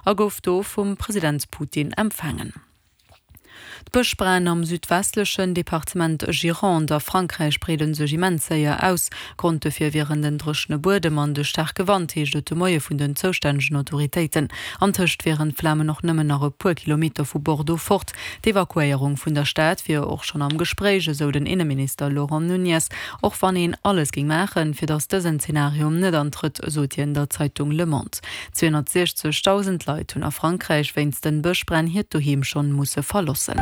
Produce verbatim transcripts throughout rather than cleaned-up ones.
a gouf do vum President Putin empfaangen. D'Bëschbränn am südwestlechen Departement Gironde a Frankräich breede sech immens séier aus. Grond dofir wieren den dréchene Buedem an de staarke Wand, heescht et de Moie vun den zoustännegen Autoritéiten. Antëscht wieren d'Flamen och nëmmen nach e puer Kilometer vu Bordeaux fort. D'Evakuéierung vun der Stad wier och schonn am Gespréich, esou den Inneminister Laurent Nunez. Och wann een alles géing maachen, fir datt dësen Zenario net antrëtt, sot hien der Zeitung Le Monde. Zweehonnertsiechzegdausend Leit hunn a Frankräich wéinst den Bëschbränn hiert Doheem schonn musse verloossen.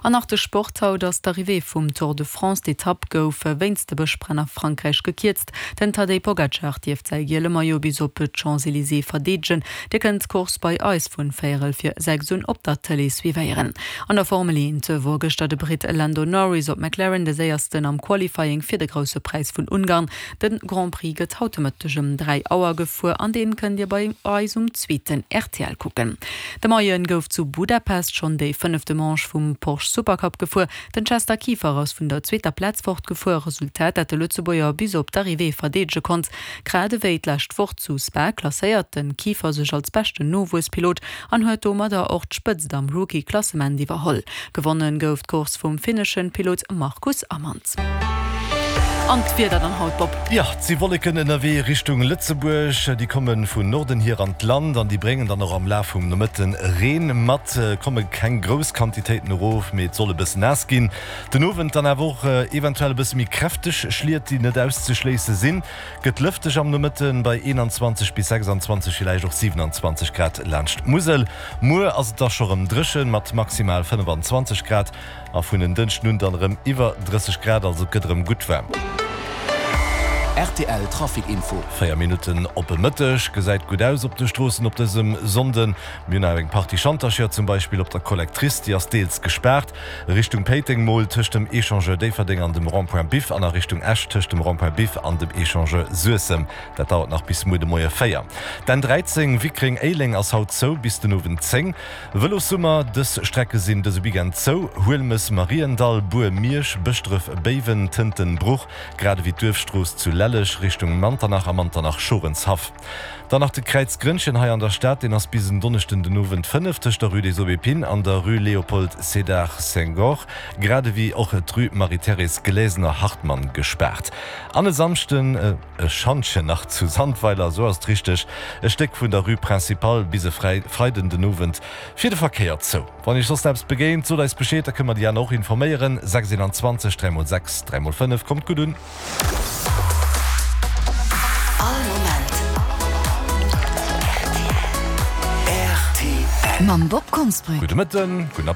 An nach de Sport, Haut ass d'Arrivée vum Tour de France. D'Etapp gouf wéinst de Bëschbränn a Frankräich gekierzt. Den Tadej Pogacar dierft säi giele Maillot bis op d'Champs-Elysées verdeedegen. Dir kënnt d'Course bei eis vun véierel vir sechs un op der Tëlee suivéieren. An der Formel eent wor gëschter de Britt Lando Norris op McLaren de séiersten am Qualifying fir de Grousse Präis vun Ungarn. De Grand Prix gëtt haut de Mëtteg ëm dräi Auer gefuer an deen kënnt Dir bei eis um zweeten rtl kucken. De Moien gouf zu Budapest schonn déi fënnefte Manche vum Porsche Supercup gefuer. Den Chester Kieffer ass vun der zweeter Plaz fortgefuer, Resultat dat de Lëtzebuerger bis op d'Arrivée verdeedege konnt. Grad ewéi d'lescht Woch zu Spa klasséiert den Kieffer sech als beschten Nowuesspilot an huet domadder och d'Spëtzt am Rookie-Klassement iwwerholl. Gewonnen gouf d'Course vum finneschen Pilot Markus Amand. An d'Wieder dann haut, Bob? Jo, et si Wolleken ënnerwee Richtung Lëtzebuerg. Déi komme vun Norden hier an d'Land an déi bréngen dann och am Laf vum Nomëtte Reen mat. Komme keng grouss Quantitéiten erof, mee et soll e bëssen naass ginn. Den Owend dann awer och eventuell e bësse méi kräfteg Schliet, déi net auszeschléisse sinn. Gëtt lëfteg am Nomëtte bei eenanzwanzeg bis sechsanzwanzeg, villäicht och siwenanzwanzeg Grad laanscht d'Musel. Muer ass et da scho rëm dréchen mat maximal fënnefanzwanzeg Grad a vun en Dënschden un dann erëm iwwer drësseg Grad, also et gëtt erëm gutt waarm. Rtl Trafic Info. Véier Minutten op e Mëtteg. Gesäit gutt aus op de Stroossen op dësem Sonnden. Mir hunn awer eng Partie Schantercher, zum Beispill op der Collectrice, déi ass deels gespaart. Richtung Péiteng mol tëscht dem Echangeur Déifferdeng an dem Rond-point Biff an a Richtung Esch tëscht dem Rond-point Biff an dem Echangeur Suessem. Dat dauert nach bis muer de Moie véier. D'N dräizéng Wickreng-Éileng ass haut zou bis den Owend zéng. Vëlossummer, Dës Strecke sinn dëse Weekend zou, Huelmes, Mariendall, Bur, Miersch, Bëschdref, Béiwen, Tënten, Bruch, grad ewéi d'Duerfstrooss zu Lelleg Richtung Manternach a Manternach-Schorenshaff. Dann nach de Kräiz Grënnchen hei an der Stad, deen ass bis en Donneschden den Owend fënnef tëscht der Rue des Aubépines an der Rue Léopold Sédar Senghor, grad ewéi och d'Rue Marie-Thérèse Glesener-Hartmann gespaart. An e Samschden e Schantjen nach zu Sandweiler, esou ass et richteg, e Stéck vun der Rue Principale bis e Freiden den Owend fir de Verkéier zou. Wann Iech soss eppes begéint, sot eis Bescheed, da kënne mer déi aner och informéieren. sechs eenanzwanzeg dräi mol sechs dräi mol fënnef. Kommt gutt un! All Moment rtl. Mam Bob Konsbrück. Gudde Mëtten, gudden.